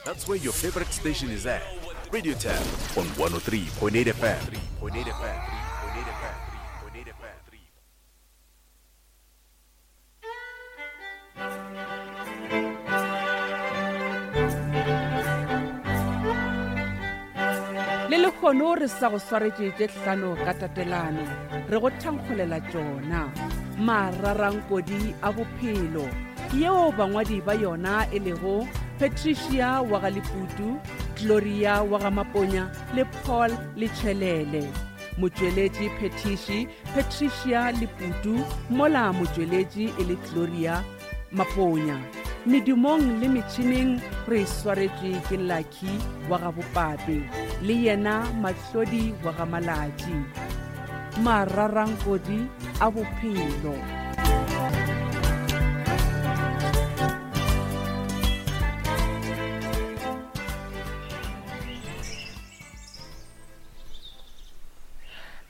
That's where your favorite station is at. Radio Tab on 103.8 FM. 3.8 FM. 3.8 FM. 3.8 FM. Le lekgono re sa go swaretše tše hlano ka tatelano re go thankgolela tšona mararankodi a bophelo yeo bangwadi ba yona e lego patricia wa ga leputu gloria wa ga maponya le paul letšhelele motšweletši phetiši patricia leputu mola motšweletši e le gloria maponya medumong le metšhineng re swaretšwe ke lucky wa ga bopape le yena mahlodi wa ga malatši mararankodi a bophelo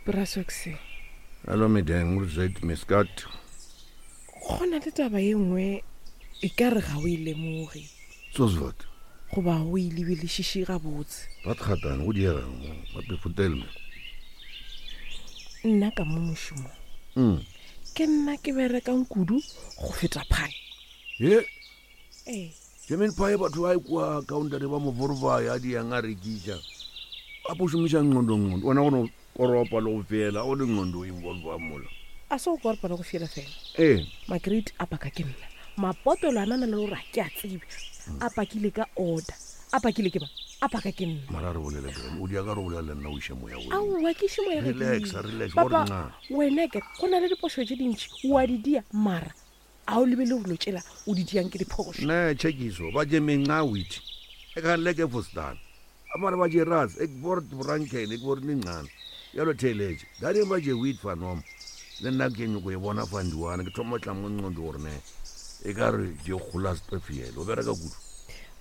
Brasox. Hello medeng, o zet miskat. Go na le taba ye nngwe e ka re ga o e lemoge. Soos wat? Goba o e lebelešiše gabotse. Wat gaat aan? Go diegang mo? Wat bevertel me? Nna ka mo mošomong. Mm. Ke nna ke berekang kudu go feta phae. Ye? Ee. German pie batho ba kwa counter ba mo vorva ya di yang a rekiša. A po šomiša nqondo nqondo. Wena go no koropa le go fiela o le nqondo o involve mola. A se go koropa le go fiela fela. Ee. Magrade a paka ke nna. Mapotelo a na na le gore a ke a tsebe. A pakile ka order. A pakile ke ba? A paka ke nna. Mara re bolele Graham. O dia ka re bolela le nna o iše moya godimo. Aowa ke iše moya godimo. Relax, relax. Papa, wena ke go na le dipošo tše dintši o a di dia mara a o lebele gore tšela o di diang ke diphošo ne tshekiso ba je menxa wit e ka leke fostan amare ba je ras ek bord branken ek bord ningcane yalo theletše dadi ba je wit fa nom le nna ke nyoko e bona fa ndiwana ke thoma tla mo nqondo gore ne e ka re je gola stefiele o bereka kudu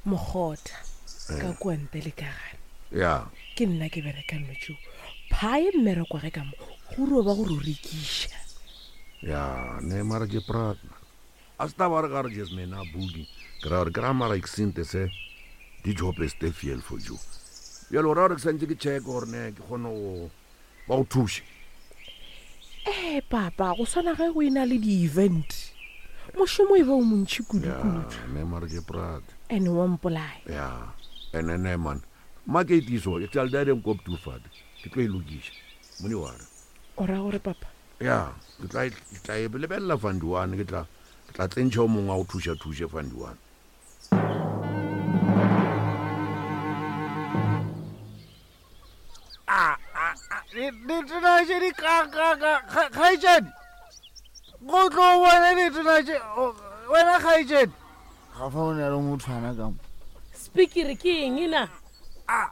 mogotha ka kua nte le ka gare ya ke nna ke berekang no tšeo phae mmereko ge ka mo go ro ba go ro rekiša ya ne mara je prat a se taba re ka re jes mena buki ke ra gore ke ra mara eksinte se di job is te fiel for you bjalo ra gore ke santse ke check gore ne ke kgone go ba go thuše ee papa go swana ge go e na le di-event mošomo e ba o montšhi kudu-kudu ne mara je prat and wa mpolaya ya ene ne man market iso e tla le nkop tu fat ke tlo e lokiša mone wa re o ra gore papa ya ke tla ke tla e lebelela fandiwane ke tla ke tla tsentšha o mongwe a go thuša thuše fandiwane ditena tše di kakaka kgaetšedi go tlo bona ditena tše wena kgaetšedi ga fa o na le mothwana ka mo spikiri ke eng na a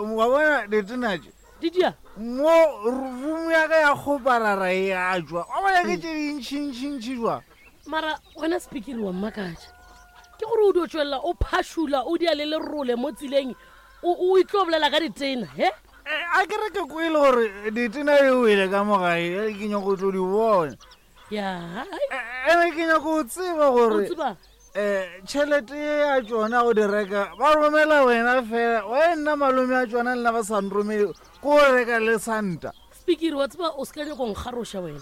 wa bona ditena tše Didia. Mo room ya ka ya kgoparara e a jwa. Wa bona ke tše dintšhintšhintšhi jwa. Mara wena speaker wa mmakatša. Ke gore o dio tšwelela o phašula o dia le lerole mo tseleng o o itlo bolela ka ditena he? Eh, a ke re ke kwele gore ditena di wele ka mo gae ke nyako go tlo di bona. Ya. Ene ke nyako go tseba gore O tseba? um tšhelete ye ya tšona go di reka ba romela wena fela wa nna malome a tšona le nna ba sa nromele ko o reka le santa Speaker wa tseba o se ka nyako nkgaroša wena.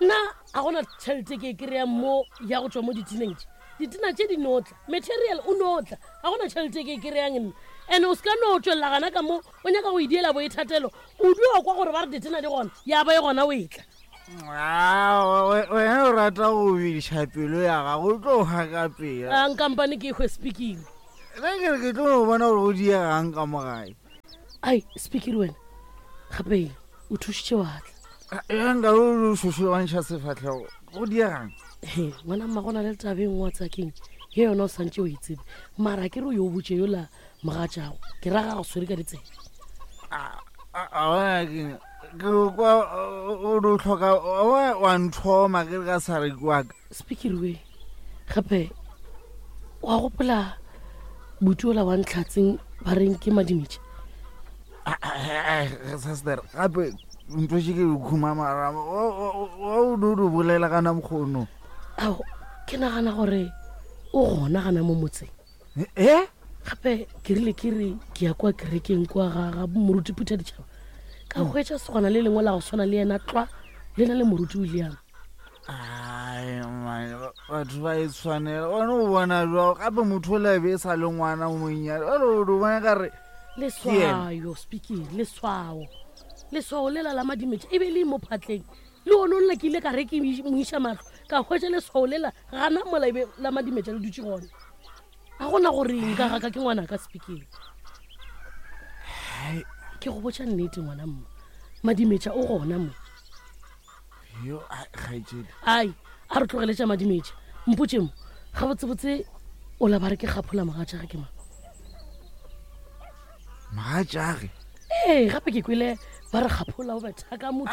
Nna a gona tšhelete ke e kry-ang mo ya go tšwa mo ditineng tše. Ditina tše di no tla, material o no tla, ga gona tšhelete ke e kry-ang nna. And o se ka no tšwelela gana ka mo o nyaka go idiela boithatelo, o dio kwa gore ba re ditina di gona, ya ba e gona o e tla. Wena o rata go bediša pelo ya gago o tlo hwa ka pela. A nkampane ke hwe speaking. Ge ke re ke tlo no bona gore go diegang ka mo gae. Ai speaking wena gape o thušitše wa tla. Ya nka o šošobantšha sefahlego go diegang. He ngwana mma go na le taba e nngwe wa tsakeng ye yona o santše o e tsebe mara ke re o yo botše yola mogatšago ke ra ga go swere ka ditsebe ke kwa o do tlhoka wa nthoma ke re ka sa re kwaka speaker we gape wa gopola buti ola wa ntlhatseng ba reng ke madimetše saster gape ntho še ke khumamara o do do bolela kana mokgono ao ke nagana gore o gona gana mo motseng e? Gape ke rile ke re ke ya kwa kerekeng kwa ga ga moruti Phutha Ditšhaba, ka hwetša segwana le lengwe la go swana le yena tlwa le na le moruti William. Ai, man, batho ba e tshwanela one o bona jao gape motho o labe e sa le ngwana o monnyane ore o bona ka re Leswayo, speaking, leswao. Leswao lela la madimetša e be le mo phatleng. Le one o nna ke ile ka re ke mo iša mahlo, ka hwetša leswao lela gana mola e be la madimetša le dutše gona. A gona gore nka gaka ke ngwana ka speaking. Ke go botša nnete ngwana mma. Madimetša o gona mo. Yo, ai, kgaetšedi. Ai, a re tlogele tša madimetša. Mpotše mo, gabotsebotse o la ba re ke kgaphola mogatšage ke mang? Mogatšage? Ee, gape ke kwele ba re kgaphola o betha ka motho.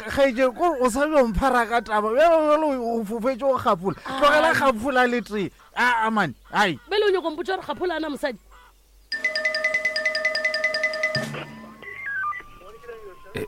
Kgaetšedi, kore o sa yo mphara ka taba. Bjalo bjalo o fofetše go kgaphola. Tlogela kgaphola le tee. Aa man, ai. Bjale o nyako mpotša gore kgaphola a na mosadi? Eh,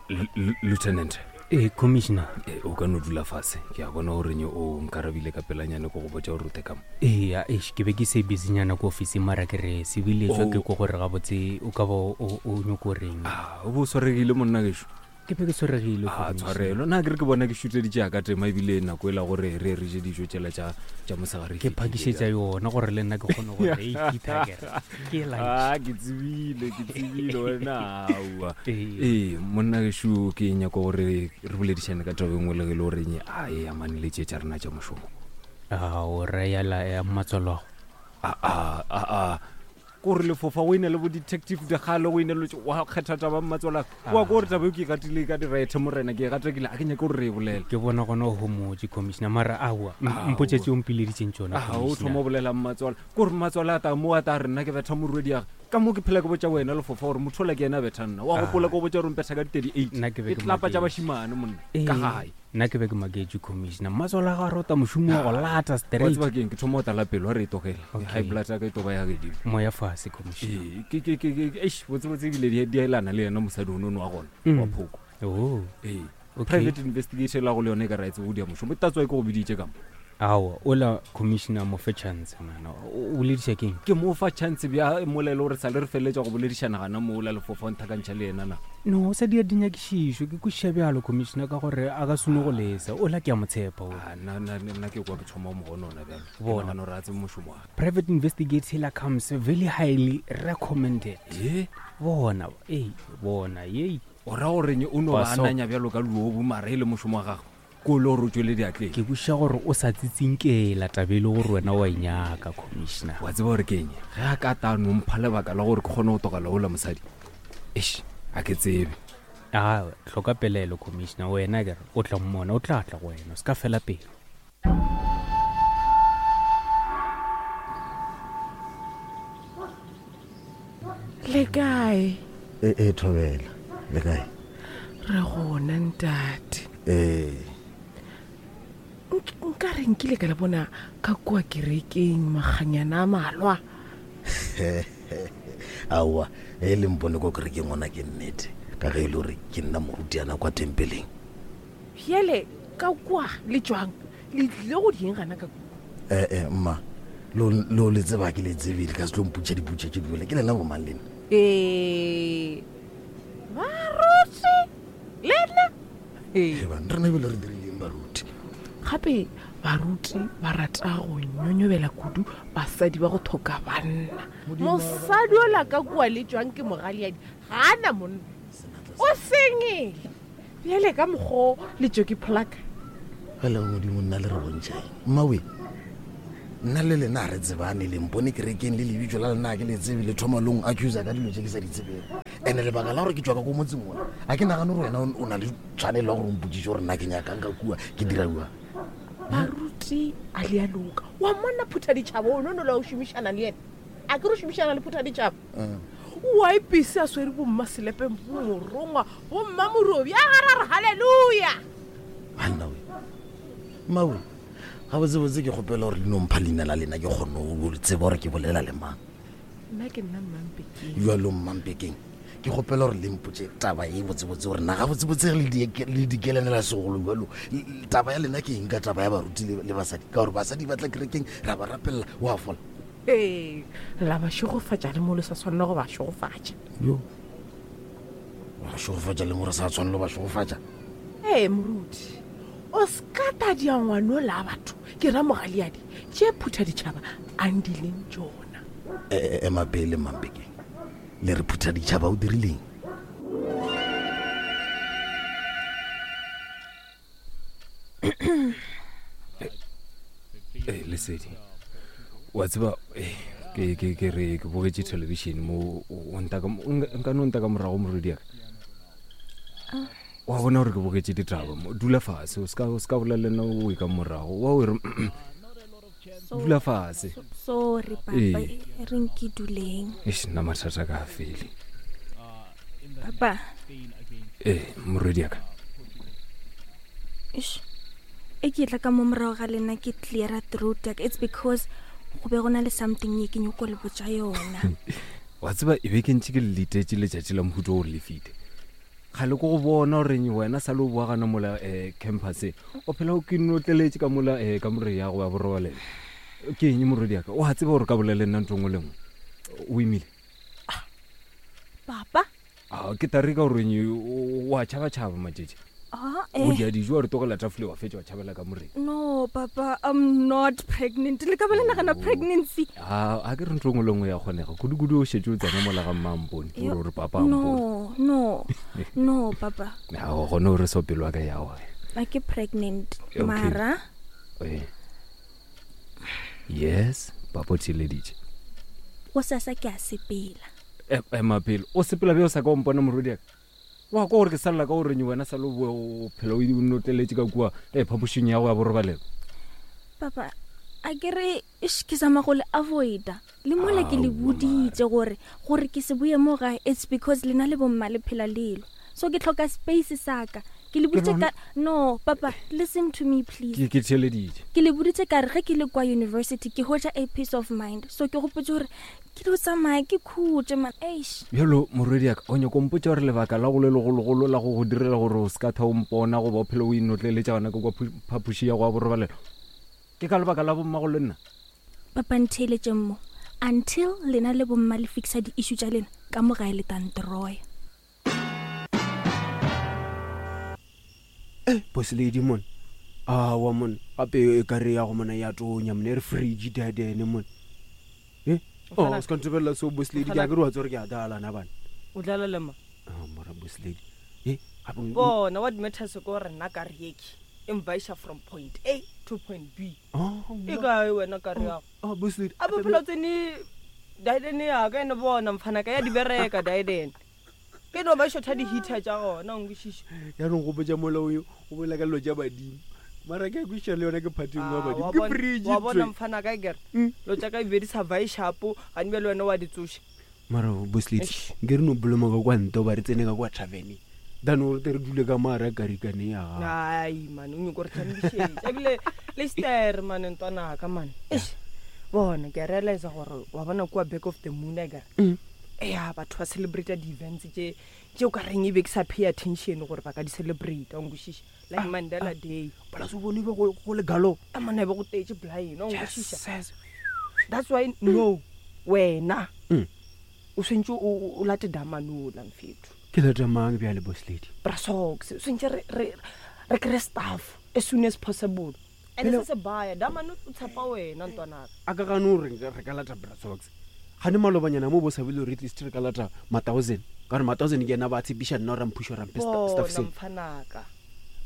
lieutenant. Ee, commissioner. Eh, o ka no dula fase. Ke a bona gore nye o nkarabile ka pelanyane ko go botša gore o te ka mo. Ee, eish, ke be ke se busynyana ko ofising mara ke re sebiletswa ke Oh. ko gore gabotse o ka ba o nyoko reng. Ah, o bo o swaregile monna gešo. Ke be ke swaregile, A Commissioner. tshwarelo. Nna ke re ke bona ke šuteditše ya ka tema ebile nako e la gore re re je dijo tšela tša tša mosegare e Ke fetile phakišetša bjale. yona gore le nna ke kgone gore e kitha ke re ke lunch. Ah, ke tsebile, ke tsebile wena aowa. Ee. Ee, monna gešo ke nyaka gore re boledišane ka taba e nngwe le ge e le gore nye a e amane le tše tša rena tša mošomo. A o reya la ya mmatswalwago. A a a a kore lefofa go ine le bo detective dikgale go ine le wa kgetha taba mmatswala wa ko gore taba e ke e gatile ka direthe morena ke e gatakile a ke nyake gore re e bolela. Ke bona gona o homotše commissioner mara aowa mpotše tše o mpileditšeng tšona. A o thoma o bolela mmatswala kore mmatswala a ta mo a ta re nna ke betha morwedi ya ka mo ke phela ke botša wena lefofa gore motho ola ke yena a betha nna wa gopola ke go botša gore mpetha ka di-38 Nna ke be e ke tlapa tša maketše. bašimane monna ka gae. Nna ke be ke maketše commissioner mmatswala ga rota mošomo wa go lata Wa straight. tseba keng ke thoma go tala pelo a re e tlogele Okay. high blood ya ka e toba ya gedimo. Moya fase commissioner. Ee, ke ke ke ke eish botsebotse ebile di di a elana le yena mosadi ono ono wa gona wa phoko. Oh. Ee. Okay. Private investigation la go le yone e ka ra e tsebo go dia mošomo tatswa e ke go biditše ka mo. Aowa, ola commissioner mo fe chance man. O bolediša keng? Ke mo fa chance bja molelo gore sa le re feleletša go boledišana gana mo ola lefofa o nthakantšha le yena na. No, o sa dia dinyakišišo, ke kwešiša bjalo commissioner ka gore a ka sone go lesa. Ola ke a mo tshepa ola. Ah, nna nna nna ke kwa ke thoma go mo gonona bjalo. Ke Bona. nagana gore a tsebe mošomo wa gagwe. Private investigator comes very highly recommended. Ye? Bona, ei, bona, yei. O ra gore o no ba Baso. ananya bjalo ka luobu mara e le mošomo wa gagwe. Ko le gore o tšwele diatleng. Ke kwešiša gore o sa tsitsinkela taba e le gore wena wa e nyaka commissioner. Wa tseba gore ke eng? Ge a ka ta no mpha lebaka la gore ke kgone go tlogela ola mosadi. Eish, a ke tsebe. A hloka pelaelo commissioner, wena ke re o tla mmona, o tla tla go wena, o se ka fela pelo. Le kae? E e thobela. Le kae? Re gona ntate. Ee. Nka re nkile ka le bona ka kua kerekeng makganyana a malwa. Aowa, e le mpone ko kerekeng gona ke nnete. Ka ge e le gore ke nna morutiana kwa tempeleng. Bjale ka kua le tšwang? Le tlile go dieng gana ka kua? Eh eh mma, lo lo le tseba ke le tsebile ka se tlo mpotša dipotša tše dibole. Ke lena bomang lena? Ee. Baruti lena? Ee. Ee, bana, rena ebile re dirileng baruti? Gape baruti ba rata go nyonyobela kudu basadi ba go thoka banna. Mosadi ola ka kua le tšwang ke mogaleadi ga a na monna. O sengile. Bjale ka mokgo le tšo ke pholaka. Ge le modimo nna le re bontšha eng? Mmawe, nna le lena ga re tsebane, le mpone kerekeng le lebitso la lena ga ke le tsebe, le thoma le ong accusa ka dilo tše ke sa di tsebego. Ene lebaka la gore ke tšwa ka ko motseng ona, a ke nagane gore wena o na le tshwanelo ya gore o mpotšiše gore nna ke nyakang ka kua, ke dira jwang. Baruti a le a loka. Wa mmona Phuthaditšhaba o nono la o šomišana le yena? A ke re o šomišana le Phuthaditšhaba? O a ipise a swere bomma selepe, bomorongwa, bomma morobi, a gare a re haleluya. Banna we. Mmawe, gabotsebotse ke kgopela gore le no mpha leina la lena ke kgone go tseba gore ke bolela le mang. Nna ke nna Mmampekeng. Jalo Mmampekeng, ke kgopela gore le mpotše taba e botsebotse gore na gabotsebotse le le dikelenela segolo jalo. Taba ya lena ke eng ka taba ya baruti le basadi? Ka gore basadi ba tla kerekeng ra ba rapelela, wa fola. Ee, la ba šegofatša le mo le sa swanela go ba šegofatša. Yo. Ba šegofatša le mo re sa tshwanelo ba šegofatša. Ee, moruti, o ska tadia ngwanola a batho, ke ra mogaleadi, tše phutha ditšhaba a ndileng tšona. E, e, ema pele Mampekeng. Le re phutha ditšhaba o dirileng? Ee, lesedi wa tseba eh, ke ke ke re ke bogetše television mo o ntaka nka no ntaka morago morwedi ya ka wa bona gore ke bogetše ditaba mo dula fase o ska o ska bolela le nna o e ka morago wa o re dula fase sorry papa Ee. e reng ke duleng eish nna mathata ka a fele papa ee morwedi ya ka Eish, e ke tla ka mo morago ga lena ke cleara throat ya ka it's because go be go na le something ye ke nyoko le botša yona wa tseba e be ke ntše ke le letetše letšatši la mohuto gore le fite Kgale ko go bona gore wena sa le o boa gana mola um campuseng o phela o ke notleletše ka mola um kamore ya go ya borobalelo. Ke eng morwedi ya ka? O a tseba gore ka bolela le nna ntho nngwe le nngwe. O imile? Papa? A ke tare ka gore o a tšhaba-tšhaba matšetše. Ah, O eh. dia dijo wa re tlogela tafole wa fetša wa tšhabela kamoreng. No, papa, I'm not pregnant. Le ka ba le nagana pregnancy. A a ke re ntho nngwe le nngwe ya kgonega kudu-kudu o šetše o tsena mola ga mmampone o re o re papa a mpone. No, no. No, papa. A o gone o re so pelo ya ka ya wa. A ke pregnant. Okay. Mara, Eh. Yes, papa o theeleditše. go sasa ke a sepela. Ema pele o sepela bjo sa ka o mpona morwedi ya ka wa kwa gore ke salela ka goreng wena sa le o phela o notleletše ka kua e phapošing ya go ya borobalelo. Papa, a ke re ish, ke zama go le avoida le mola ke le boditše gore gore ke se boye mo gae it's because lena le bomma le phela lelo so ke tlhoka space sa ka ke le boditše ka no papa listen to me please Ke ke theeleditše. Ke le boditše ka re ge ke le kwa university ke hwetša a peace of mind so ke gopotše gore Ke dio tsamaya ke khutše man, eish. Bjalo, morwediaka, o nyako mpotša gore lebaka la go le legologolo la go go direla gore o se ka tha o mpona goba o phele o inotleletša gona ka kwa phapoši ya go ya borobalelo ke ka lebaka la bommago le nna? Papa ntheeletšeng mo, until lena le bomma le fixa di-issue tša lena ka mo gae le tla nteroya. Eh, boss lady mon. Awa mon, gape e ka re ya go mona ya tonya mone re fridge dadene mon. Eh? Oh, Mfana- se ka ntebelela so boss lady, ke a ke re wa tsore ke a dala na bana. O dlala le ma. Ah, mora boss lady. Eh, gape Bona what matters ke gore nna ka re yeki e mvaisha from point A to point B. Oh, E kae wena ka re yago? Oh, boss lady. A bophelo tsene daedene ya ka ene bona mfana ka ya di bereka daedene. Ke no ba shotha di-heater tša gona, o nkwešiše. Ya no gopotša mola o o bolela ka dilo tša badimo. Mara ke a kwešiša le yona ke phatheng wa Ah, badimo. wa Ke bona- fridge wa bona ntho e. mfana ka kere lo tša ka e be di sa vae shapo gane bjale wena wa di tsoša. Mara boss lady, Eish. nke re no boloma ka kwa ntle ba re tsene ka kwa taverneng. Than gore tle re dule ka mo hara karikane ya gago. Ai man, o nyoko re thambišetša ebile le stere man ntwanaka man. Eish. Bona ke a realize gore wa bona kua back of the moon a kere. Ea batho ba celebrate di-events tše tše o ka reng e be ke sa pay attention gore ba ka di celebrate, wa nkwešiša. Like Mandela Day. Plus o bone be go go le galo. A monna e be go tletše blind, wa nkwešiša. Yes. That's why no wena Mm. o swantse o late damanola mfetho. Ke lata mang bjale boss lady? Bra socks, o swantse re re re kry staff as soon as possible. And Phela- se se baya damane o tshepa wena ntwanaka. A ka gane gore re ka lata bra socks. Gane malobanyana mo bo sa bile re at least re ka lata ma thousand. Ka gore ma thousand ke yena ba tshepiša nna gore a mphuše gore a mphe staff Bona seo. mfanaka.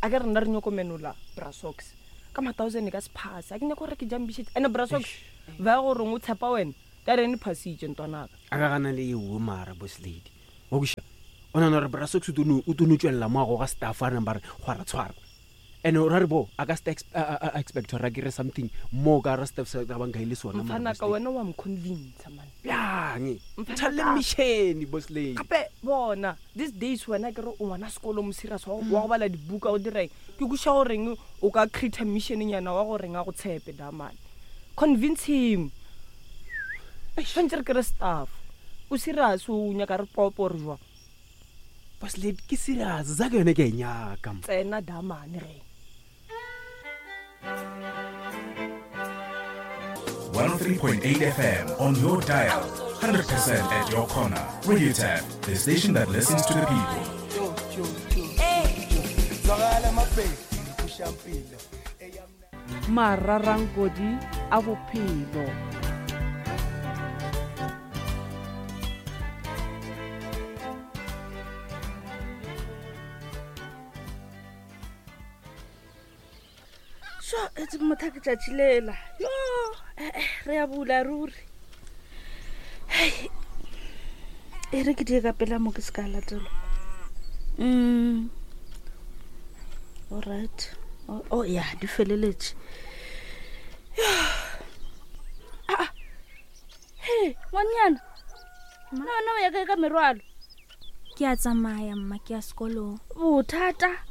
A ke re nna re nyoko menola bra socks. Ka ma thousand e ka se pass. A ke nyako gore ke jambišetše. And bra socks ba gore o tshepa wena. Ka re ne phasitše ntwanaka. A ka gana le eo mara boss lady. Wa kwešiša? O nahana gore bra socks o tlo no tšwelela mo a goga staff a reng ba re kgwara tshwara. And o ra re bo a ka se a expect gore a kry something more ka ra staff sa ka banka e le sona mara Mfanaka boss lady. wena wa mconvince man. Bjang? Mfanaka. Thalle mission boss lady. Gape bona these days wena ke re o ngwana sekolo mo serious wa go bala dibuka o dira eng. Ke kwešiša goreng o ka create mission nyana wa goreng a go tshepe damane. Convince him. Tshwanetse re kry staff. O serious o nyaka re popo re jwang? Boss lady ke serious za ke yone ke e nyaka. Tsena damane ge. 103.8 FM on your dial. 100% at your corner. Radio Tap, the station that listens to the people. Mararankodi a bophelo. So etse motha ke tšatši lela yo eh, eh, re ya bula ruri. Hei, e re ke die ka pela mo ke se ka latelwa. Alright, oh, oh ya di feleletše. Ah, he ngwanyana, na wena o ya kae ka merwalo? Ke a tsamaya mma, ke ya sekolong. Bothata?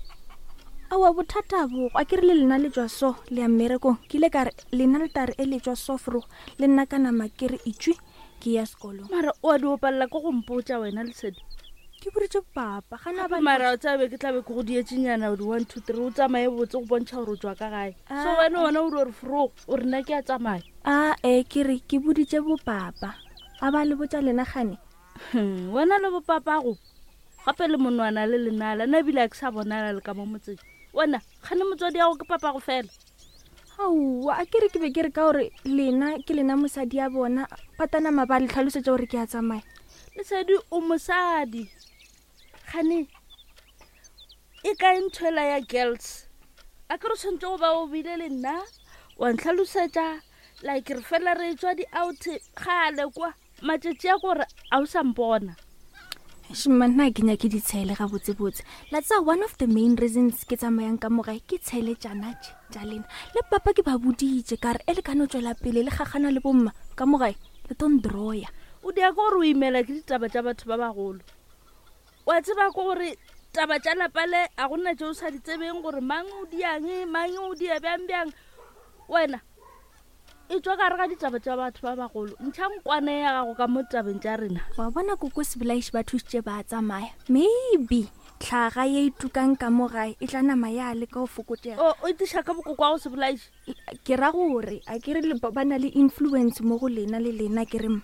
Aowa, bothata bo a ke re le lena le tšwa so le ya mmerekong. Ke ile ka re lena le tare e le tšwa so fro le nna ka nama ke re itšwe ke ya sekolong. Mara o a di opalela ke go mpotša wena Lesedi. Ke boditše papa ga na ba Mara o tsabe ke tlabe ke go dietšenyana di 1 2 3 o tsamaye botse go bontšha gore o tšwa ka gae. So wena wena o re fro o re nna ke a tsamaya. A e ke re ke boditše bopapa a ba le botša lena gane. Wena le bopapago gape le monwana le lenala nna ebile a ke sa bonala le ka mo motseng. Wena gane motswadi yago ke papago fela. Aowa, a ke re ke be ke re ka gore lena ke lena mosadi ya bona patanama ba le tlhalosetša gore ke a tsamaya. Lesedi o mosadi gane e kae ntho ela ya girls? A ke re tshwanetse go ba o bile le nna wa ntlhalosetša like re fela re tswa di-out gale kwa matšatši a gore a o sa mpona. Shma, nna ke nyake ditshele gabotsebotse. La tsa one of the main reasons ke tsamayang ka mogae ke tshele tšana tše tša lena. Le papa ke ba boditše ka re e le ka no tšwela pele le gagana le bomma ka mogae le tlo ndroya. O dia ke gore o imela ke ditaba tša batho ba bagolo. Wa tseba ke gore taba tša lapa le a gona tše o sa di tsebeng gore mang o diang, mang o dia bjang bjang. Wena e tšwa gare ga ditaba tša batho ba bagolo, ntšha nkwane ya gago ka mo tabeng tša rena. Wa bona koko Sebolaiši ba thušitše ba tsamaya, maybe tlhaga ye e tukang ka mo gae e tla nama ya leka go fokotšega. O itiša ka bokoko wa go Sebolaiši? Ke ra gore a ke re ba na le influence mo go lena le lena ke re mma.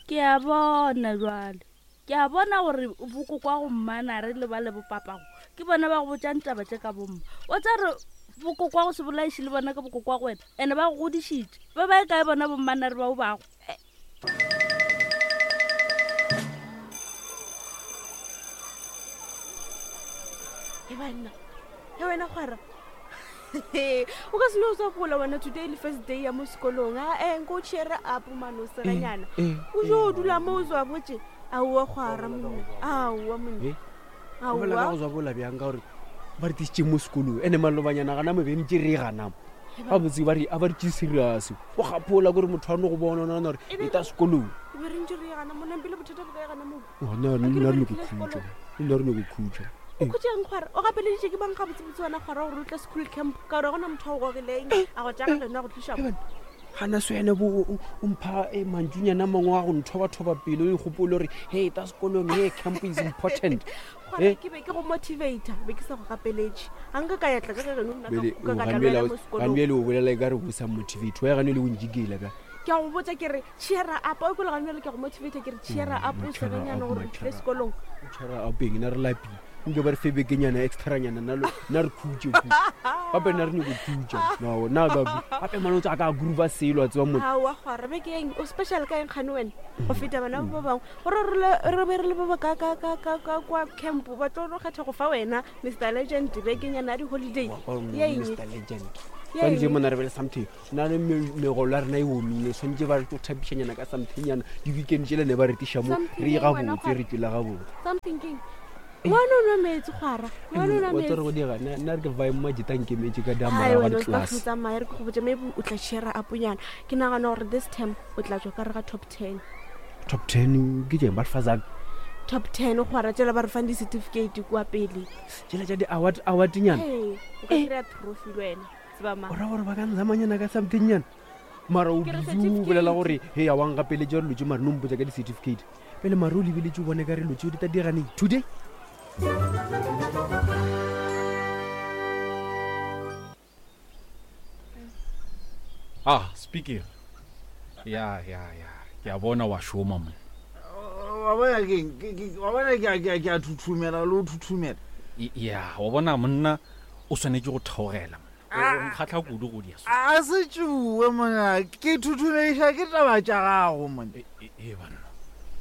Ke a bona jwale, ke a bona gore bokoko wa go mmanare le ba le bopapago ke bona ba go botšang taba tše ka bomma. O tsa re bokoko wa go Sebolaiši le bona ke bokoko wa go wena, ene ba go godišitše. Ba ba e kae bona bommanare bao bago? E banna, e wena kgwara. O ka se no tswa gola wena today le first day ya mo sekolong. A e nko o cheer up mane o seganyana. O jo o dula mo o tswa botse. Aowa kgwara monna. Aowa monna. Aowa. Bolela ka go tswa bola bjang ka gore ba re tlisitše mo sekolong ene malobanyana gana mo bentše re gana mo. Gabotse ba re a ba re tšee serious. O gapola gore motho a no go bona o nagana gore e ta sekolong. E be re ntše re gana mo nampile bothata bo kae gana mo? Oh, nna nna re nyoko khutša. Nna re nyoko khutša. O khutšeng kgwara? O gapeleditše ke bang gabotsebotse wena kgwara gore o tle school camp ka gore gona motho a go gogileng a go tšaga lena go tliša mo. Gana se wena bo o mpha mantšunyana a mangwe a go nthobathoba pelo o ikgopole gore hey ta sekolong hey camp is important. Kgwara ke be ke go motivator be ke sa go gapeletše. Ga nka ka ya tla ka ge geno nna ka kuka ka tla le wena mo sekolong. Gane o bolela e ka re o sa motivate wa gane le o njikela ka. Ke a go botša ke re cheer up o ikole gane ke go motivate ke re cheer up o serenyana gore o tlile sekolong. Cheer up eng na re lapile. Nke ba re fe bekenyana extranyana nna nna re khutše khu. Gape nna re nyoko khutša. No na ka gape mane o tsa ka groove selo a tseba motho. Aowa kgwara beke eng o special ka eng kgane wena go feta bana ba bangwe gore re be re le ba ba ka ka ka ka ka kwa camp ba tlo no kgetha go fa wena Mr Legend bekenyana ya di-holiday. Ya eng? Mr Legend. Tshwanetse mona re be le something. Nna le megolo ya rena e omile tshwanetse ba re tlo thapišanyana ka somethingnyana di-weekend tšele ne ba re tiša mo re ye gabotse re tšwele gabotse. Something keng? Ngwana o nwa metsi kgwara. Ngwana o nwa Wa tsere go metsi. dira nna nna re ke vibe majita nkemetse ka Ai, damora ga wena o se ka di-class. tsamaya re ke go botša maybe o tla share up nyana. Ke nagana gore this term o tla tšwa ka re ga top 10. Top 10 ke tšeng ba re fa zaka? Top 10 kgwara tšela ba re fang di-certificate kua pele. Tšela tša di-award award nyana. Hey, o ka kry-a trophy le wena. Tseba mang. O ra gore ba ka nzamanyana ka something nyana. Mara o Ke re busy o bolela certificate. gore he a wang gapeletša dilo tše mare no mpotša ka di-certificate. Pele mare o lebeletše o bone ka re dilo tšeo di tla diraneng today. Ah, speaking. Ya, ya, ya. Ke a bona wa šoma monna. Wa bona keng? Wa bona ke a ke a ke a thuthumela le o thuthumela. Ya, wa bona monna o swanetše go theogela monna. O nkgahla kudu go dia so. A se tšuwe monna, ke thuthumediša ke taba tša gago monna. E banna.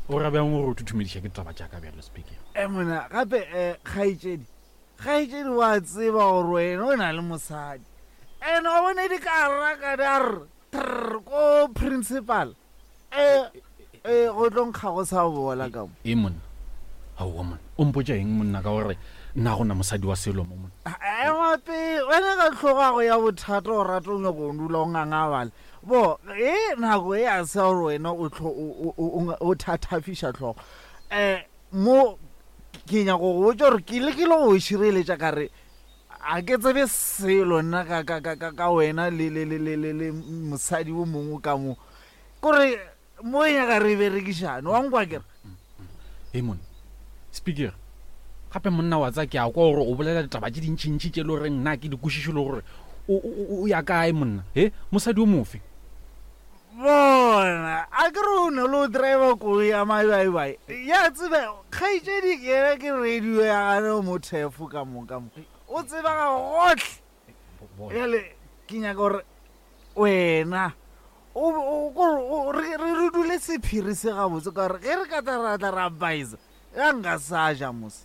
O ra bjang gore o thuthumediša ke taba tša ka bjalo speaker? E monna, gape eh kgaetšedi. Kgaetšedi wa tseba gore wena o na le mosadi. Ene wa bone di ka raka di a re trr ko principal. E e go tlo nkga go sa bola ka mo. E monna. Aowa monna. O mpotša eng monna ka gore nna go na mosadi wa selo mo monna. Ema pele wena ka tlhogago ya bothata o rata o nyako o dula o ngangabala. Bo e nako e a se gore wena o tlo o thathafiša tlhogo. Eh mo ke nyako go botša gore ke lekile go šireletša ka re a ke tsebe selo nna ka, ka, ka, ka, ka wena le, le, le, le, le, le mosadi o mongwe ka mo kore mo e nyaka re berekišane wa nkwa kere e monna speaker gape monna wa tsa ke a kwa gore o bolela ditaba tše dintšintši tše le goreng nna ke di kwešiše le gore o ya kae monna e mosadi o mofe Bona, a ke re o ne le o driver koloi ya mabaibai. Ya tsebe, kgaetšedi yena ke radio ya gane o mo thefo ka mo ka mo. O tseba ga gohle. Bjale ke nyaka gore wena o o kore o re re dule sephiri se gabotse ka gore ge re ka tla ra tla ra baisa ya nka sa ja mos.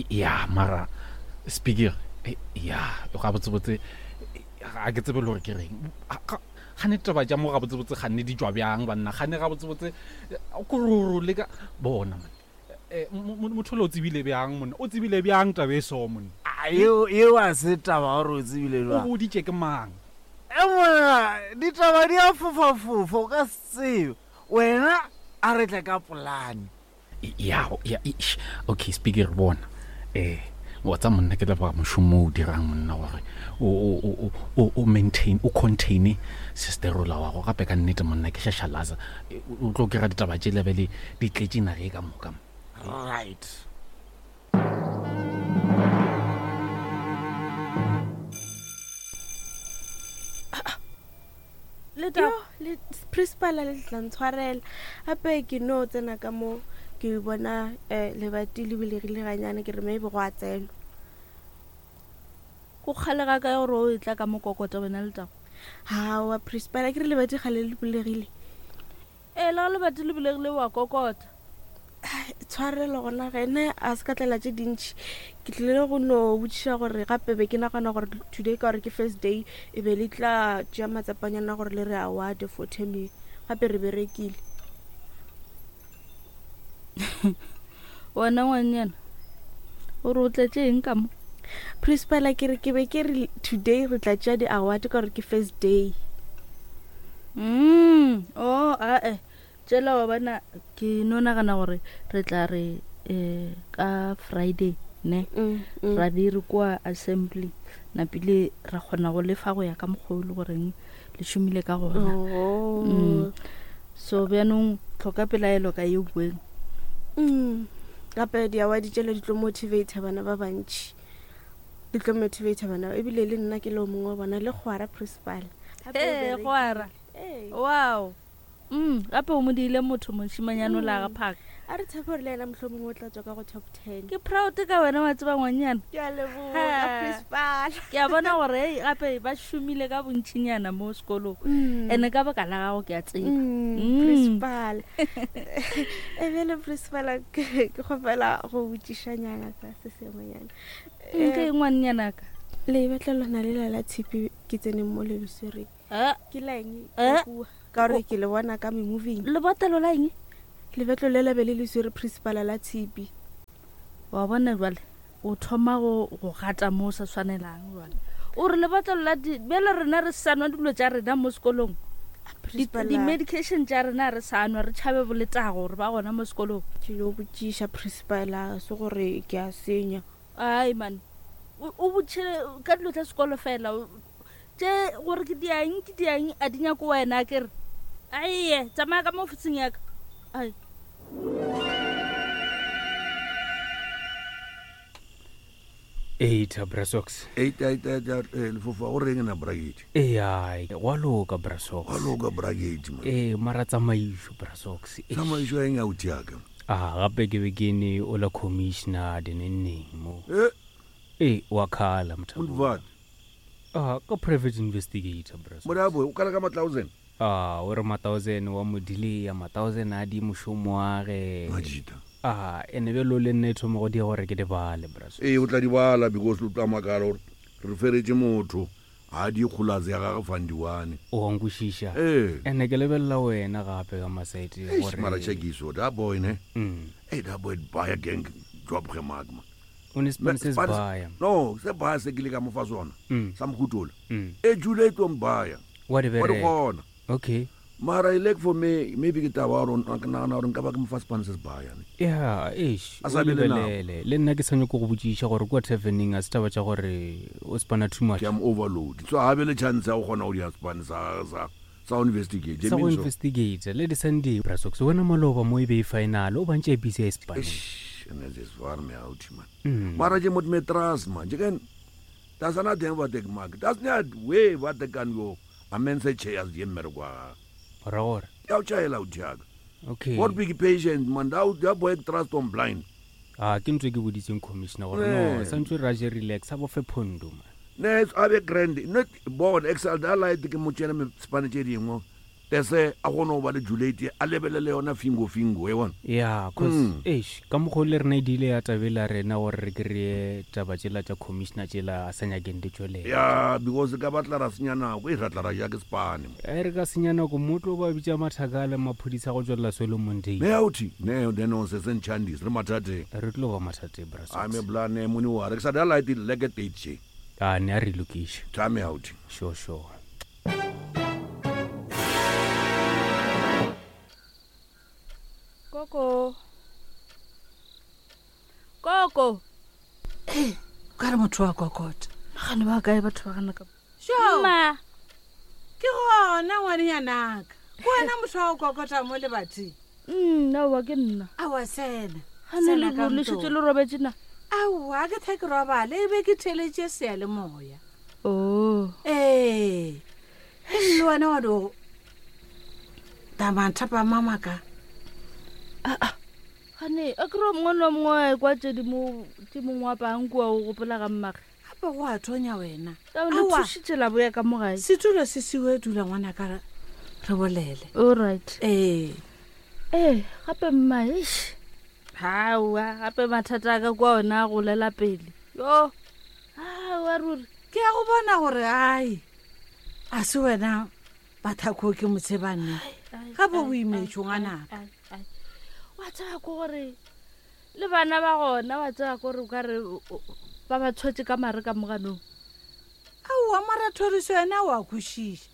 Ya mara speaker ya gabotsebotse ga ke tsebe le gore ke reng. Gane taba tša mo gabotsebotse ganne di tšwa bjang banna gane gabotsebotse kororo le ka bona man eh, motho le o tsebile bjang monna o tsebile bjang taba e so monna eo eo a se taba gore o tsebile jwang o boditše ke mang e monna ditaba di a fofafofa o ka se tsebe wena a re tle ka polane ya ya okay speaker bona eh wa tsa monna ke leboga mošomo o dirang monna gore o maintain o contain sisterola wa go gape ka nnete monna ke šašalaza o tlo kry-a ditaba tše lebele di tletše nage ka moka right Yo, le principal le tla ntshwarela gape ke no tsena ka mo ke bona um lebati le bulegile ganyane ke re maybe go a tsenwa go kgalega ka gore o e tla ka mokokota wena letago gawa principal ke re lebati gale le bulegile Ee, le ge lebati le bulegile wa kokota. Tshwarelo gona ge ne a se ka tlela tše dintši. Ke tlile go no botšiša gore gape be ke nagana gore today ka gore ke first day e be le tla tšea matsapanyana gore le re award for term ye. Gape re berekile. Wena ngwanyana, o re o tletše eng ka mo? Principal ke re ke be ke re today re tla tšea di-award ka gore ke first day. Mm, oh, ae. Tšela wa bona ke no nagana gore re tla re eh ka Friday ne mm, mm. ra be re kwa assembly napile ra kgona go lefa go ya ka mokgwa o le goreng le šomile ka gona oh. mm. so bjanong tlhoka pelaelo ka ye bueng mm. gape diawadi tšele di tlo motivate bana ba bantšhi di tlo motivate bana ebile le nna ke le o mongwe wa bona le kgwara principal ee kgwara wow Mm, gape o mo diile motho mošimanyane o la ga phaka. A re tshepe gore le yena mohlomongwe o tla tswa ka go top ten. Ke proud ka wena wa tseba ngwanyana. Ke a leboga principal. Ke a bona gore ei gape ba šomile ka bontšinyana mo sekolong. Mm. Ene ka baka la gago ke a tseba. Mm, mm. Principal. E bjale principal ke kgopela go botšišanyana ka se sengwenyana. Ke ngwannyana ka. Lebetlelo lona lela la tshipi ke tseneng mo le leswereng. Eh. Ke la eng? Eh. Ka gore ke le bona ka memoving. Lebotlelo la eng? Lebetlo le la be le le swere principal la tshipi. Wa bona jwale o thoma go go gata mo o sa swanelang jwale. O re lebotlelo la di bjale rena re sa nwa dilo tša rena mo sekolong. Di-medication tša rena re sa nwa re tšhabe boletago gore ba gona mo sekolong. Ke yo botšiša principal se gore ke a senya. Ai man. O botšhele ka dilo tša sekolo fela. Tše gore ke diang ke diang a di nyako wena ke re. Aye, tsamaya ka mo ofising ya ka. Ai. Eita brasox. Eita eita eita eh, lefofa o reng na bracket? Ee, gwa loka brasox. Gwa loka bracket man. Ee, mara tsamaišo brasox. Tsamaišo ya eng ya utiaka? A gape ke be ke ne o la commissioner dinenneng mo. Eh. Ee, wa khala mthabo. What? Ah, ka private investigator brasox. Morabo, o kala ka ma-thousand? A o re ma-thousand wa mo delaya, ma-thousand a di mošomo wa ge. Majita. A ene bjalo le nna e thoma go dia gore ke di bale brasox. Ee, o tla di bala because o tla makala gore re feretše motho ga di kgolase ya gage fandiwane. O a nkwešiša? Ee. Ene ke lebelela wena gape ka masaete Eish, gore mara chekiso that boy ne. Mm. Hey, that boy buy gang job ge mark man. O ne sepane se se baya. No, se baya se ke le ka mo fa sona. Mm. Sa mohutola. Mm. E jule e tlo mbaya. Wa di Wa di bereka. kgona. Okay. Mara e like for me, maybe ke taba ya gore ke nagana gore nka ba ke mo fa sepane se se baya ne. Ya, eish, A o sa be le nako. lebelele. Le nna ke sa nyako go botšiša gore kua taverneng a se taba tša gore o spana too much. Ke am overload. So ha be le chance ya go kgona go dira sepane sa sa sa go investigate. Sa go Means so. investigate le di-sunday brasox wena maloba mo e be e final o bantše e busy ya e sepaneng. And this war me out man. Mm. Mara je mot metras man. Je kan Das ana teng ba tek mark. Das nya we ba te kan yo. Amense chairs je mmereko wa gagwe. Ra gore. Ya o tšhaela o thiaka. Okay. What big patient man that that boy trust on blind. A ke ntho e ke boditseng commissioner gore no Eh. santse ra je relax a bofe phondo man. Ne a be grand not born excel da light ke mo tšene me spane tše dingwe. Tese a gone go ba le Juliet a lebelele yona fingo fingo e bona. Ya, cause Mm. eish ka mokgwa o le rena e dile ya tabela rena gore re kry-e taba tšela tša commissioner tšela a sa nyakeng di tšwelela. Ya because ka batla ra senya nako e ra tla ra ja ke spane. E re ka senya nako motlo ba bitša mathaka le maphodisa go tswelela Solomon Day. Ne authi ne then on se senchandis re mathateng. Re tlo ba mathateng bra. A me bla ne mone wa re ke sa da light leke date che. A ne a re lokiše. Time out. Sure sure. Koko. Koko. Ee, o ka re motho wa kokota. Gane ba kae batho ba gana ka. Sure. Mma. Ke gona ngwanenyanaka. Ke wena motho wa go kokota mo lebating. Nna ke nna. Aowa sena. Gane Sena le ka le ntong. šetše le robetše na. Aowa ke tha ke robale e be ke theletše seyalemoya. Oh. Ee. E le wena wa do tamanthapama maka. Gane a kry mongwe le mongwe a ekwa tše di mo tše mongwe wa pang kua o gopola ga mmage. Gape go a thonya wena. Taba le Aowa. thušitše la boya ka mo gae. Setulo se siwe dula ngwanaka re re bolele. All right. Ee. Ee, gape mma eish. Hawa, gape mathata a ka kwa ona a golela pele. Yo. Hawa ruri. Ke a go bona gore ai a se wena bathako ke motshebanne. Gape o imetšwe ngwanaka. Ai, ai. Wa tseba ko gore le bana ba gona wa tseba ko gore o ka re ba ba tshwetse ka mare ka moganong. Aowa mara thoriso yena o a kwešiša.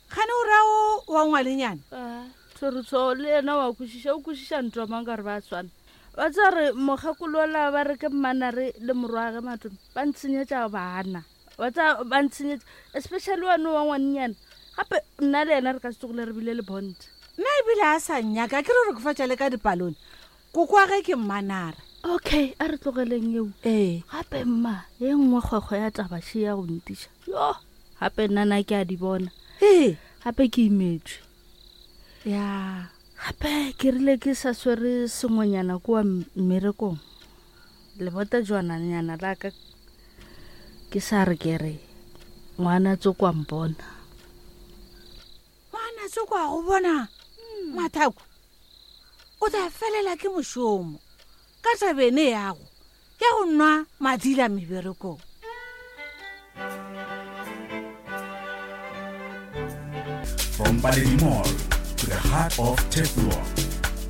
Gane o raya o wa ngwalenyana? Thoriso le yena wa kwešiša o kwešiša ntwa mang ka gore ba swana. Wa tseba re mokgekolola ba re ke mmanare le morwage matome ba ntshenyetša bana. Wa tseba ba ntshenyetša especially wane wa ngwanenyana. Gape nna le yena re ka se tsogile re bile le bond. Nna ebile a sa nnyaka ke re re kofatša le ka dipalone. Koko wa ge ke mmanare. Okay, a re tlogeleng eo. Ee. Gape mma, ye nngwe kgwekgwe ya taba še ya go ntiša. Yo, gape nna na ke a di bona. Ee. Gape ke imetswe. Ya. Gape ke rile ke sa swere sengwenyana kua mmerekong. Lebota jwananyana la ka ke sa re ke re ngwana tsoko a mpona. Ngwana tsoko a go bona mathako. O tla felela ke mošomo ka tabene yago ya go nwa madila meberekong. From Paledi Mall to the heart of Teflon,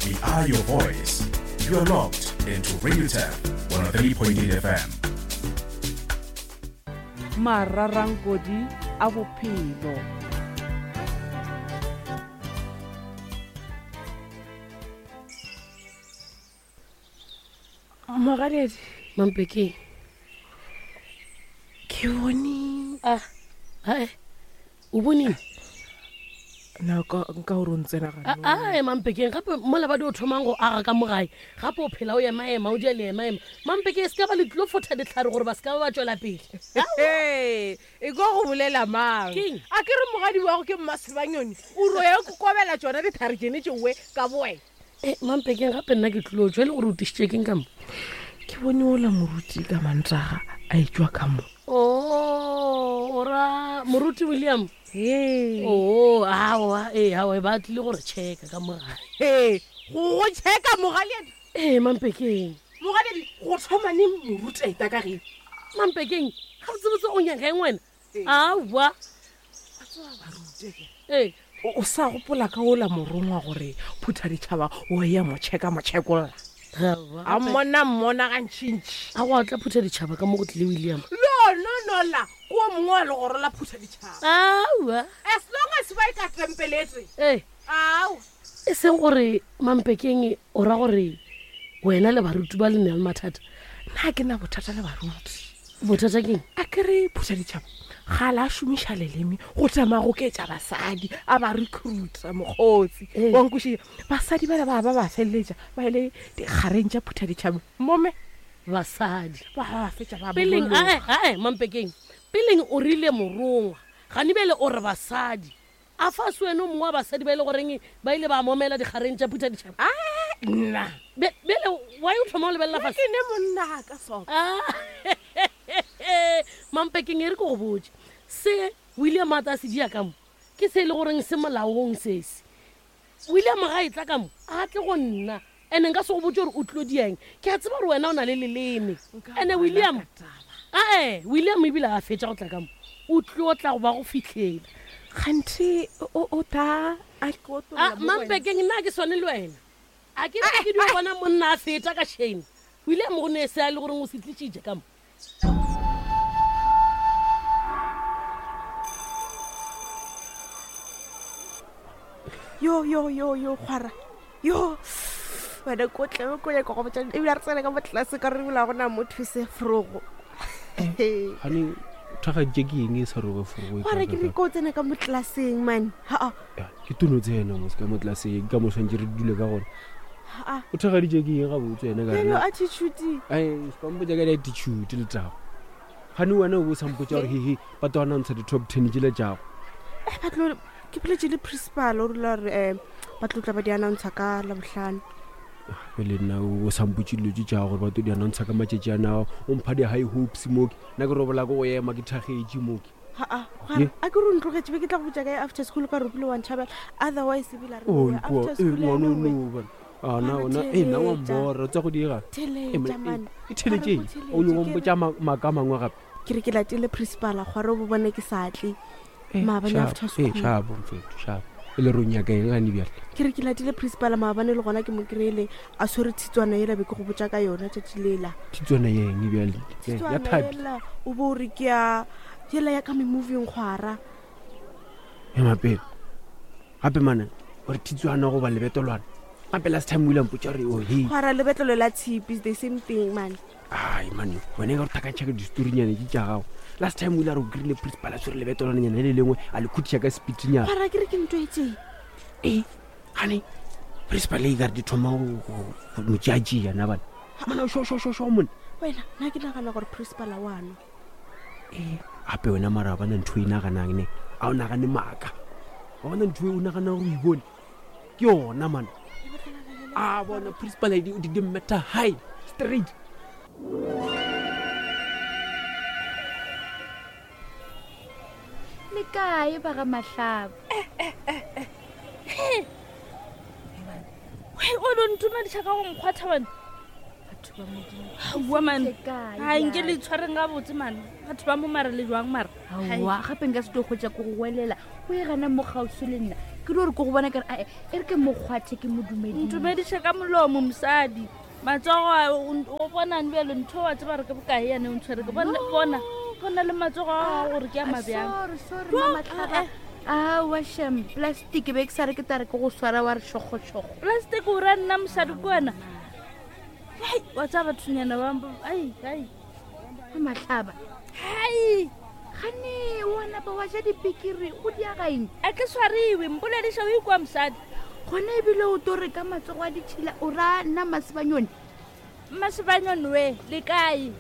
we are your voice. You are locked into Radio Tap 103.8 FM. Mararankodi a bophelo. Mogaledi. Mampeke. Ke bone. Ah, ae. O boneng? Na ka nka gore o ntsena gano. Ae mampekeng gape mola ba di o thomang go aga ka mo gae gape o phela o emaema o dia le emaema mampeke e se ka ba le tlilo fotha ditlhare gore ba se ka ba ba tswela pele. Ee, e ko go bolela mang? Keng? A ke re mogadi wago ke mmasebanyoni o ro ya kokobela tsona ditlhare tsene tšeoe ka boe. E mampekeng gape nna ke tlilo tswa e le gore o tišitše keng ka mo? Ke bone ola moruti ka mantaga a etšwa ka mo. Oh, ora moruti William. Oo, aowa, ee, aowa, ba tlile gore checka ka mo gae. Ee, go go checka mogaleadi. Ee, mampekeng. Mogaleadi, go thoma neng moruti a eta ka ge? Mampekeng, ga botsebotse o nyaka eng wena? Aowa. Ee. O sa gopola ka ola morongwa gore phutha ditšhaba o ya mo checka mo chekolla. A mmona mmona gantšintši. A go atla phutha ditšhaba ka mo go tlile William. No, no, no la. Ko o mongwe wa legoro la phutha ditšhaba. Aowa. As long as ba e ka tempeletse. Ee. Aowa. E seng gore mampekeng o ra gore wena le baruti ba le na le mathata. Nna ke na bothata le baruti. Bothata keng? A ke re phutha ditšhaba ga la šomiša leleme go tsamaya go ketša basadi a ba recruita mokgotsi. Wa nkwešiša? Basadi bala ba ba ba feleletša ba ile dikgareng tša phutha ditšhaba mome. Basadi. Ba ba fetša ba Peleng, bolologa. ae, ae, mampekeng. Peleng o rile morongwa. Gane bjale o re basadi. A fa se wena o mongwe wa basadi ba e le goreng ba ile ba momela dikgareng tša phutha ditšhaba? Nna. Bjale why o thoma o lebelela fase? Ke ne monna ka sona. Mampekeng e re ke go botše. Se William a tla se dia ka mo ke se e le goreng se molaong sese. William ga e tla ka mo a tle go nna ene nka se go botse gore o tlilo dieng. Ke a tseba gore wena o na le leleme. Ene William ae William ebile a fetša go tla ka mo o tlilo tla go ba go fihlela. Kganthe o ta a ko A mampekeng nna ke swane le wena. A ke re ke dio bona monna a feta ka shame. William go ne se a le goreng o se tlišitše ka mo. Yo yo yo yo kgwara. Yo. Wena ko tlebe ko nyaka go botša ebile re tsene ka mo tlase ka re ebile ga gona motho se frogo. Gane thagaditše ke eng e sa robe forogo e Kgwara ke re kaakaka? ko tsene ka mo tlelaseng man. Ha Ke tono tsena mos ka mo tlelaseng ka mo swantše re dule ka gona. ha. O thagaditše ke eng gabotse wena ka Bjalo rena? attitude. Ai, se ka mpotša ka di-attitude le taba. Gane wena o bo o sa mpotša gore hehe ba tlo announce di-top 10 tšela tšago. Eh ba tlo ke boletse le principal o rile gore ba tlo tla ba di announce ka Labohlano. Pele nna o sa mpotše dilo tše tša gore ba tlo di announce ka matšatši a nao o mpha di-high hopes moke nna ke robola ke go ema ke thagetše moke. Ha a Ye? a ke re o ntlogetše be ke tla go botša kae after school ka re o bile wa ntšhabela otherwise ebile a re Oh, we ipua, after eh, school ngwana yena o o we. no bana. A na Mara ona eh nna wa theeletša. mbora tsa go diega. Theeletša, man. E theeletše Mara go eng? O nyoko theeletše, ke mpotša maaka a mangwe gape. Ke re ke latile principal gore o bo bone ke sa tle maabane Shabo, after eh, school. shabo mfetho, shabo. E le re o nyaka eng gane bjale? Ke re ke latile principal maabane le gona ke mo kry-ile a swere tshitswana ela be ke go botša ka yona tšatši lela. Tshitswana ya eng bjale? Ya Tshitswana thapi. ela o bo o re ke ya yela ya ka me-moving kgwara. Ema pele. Gape mane o re tshitswana goba lebetolwana. Gape last time o ile a mpotša gore oh hey. Kgwara lebetlelo la tshipi is the same thing man. Ai mane wena e ka re thakantšha ka distorinyana tše tša gago. Last time o ile a re o kry-ile principal a tshwere lebetolwananyana le lengwe a le khutiša ka speednyana. Kgwara ke re ke ntho e tee. Ee, gane principal e ka re di thoma go mo tšeatšea na bana. Mana o sho sho sho sho mone. Wena nna ke nagana gore principal a wa nwa. Ee, gape wena mara wa bona ntho e naganang ne a o nagane maaka. Wa bona ntho e o naganang gore o e bone ke yona mana. A bona principal e di di matter high straight. Le kae ba ga Mahlaba? O no ntumediša ka go nkgwatha wena. Batho ba Modimo. Aowa man. Le kae Ai nke bjale? le itshwareng gabotse man. Batho ba mo mara le jwang mara? Aowa, gape nka se tlo kgwetša ko go welela o e gana mo kgauswi le nna ke di gore ke go bona kare ae e re ke mo kgwathe ke mo dumedise. Ntumediše ka molomo mosadi. Matsogo a o bonang bjalo ntho wa tseba re ke bokae yane o ntshwere ke bona bona bona le matsogo a gago gore ke a mabjang. Sorry, sorry, Mama Tlhaba. Aowa shem, plastic be ke sa re ke tare ke go swara wa re šogošogo. Plastic o ra nna mosadi ke wena. Hai, wa tseba bathonyana ba ai ai. Mama Tlhaba. Hai. Gane o ana napa wa ja dipikiri go diagaeng a ke swariwe mpolediša o ikwa mosadi gona ebile o to re ka matsogo a ditšhila o ra nna masebanyone mmasebanyone we le kae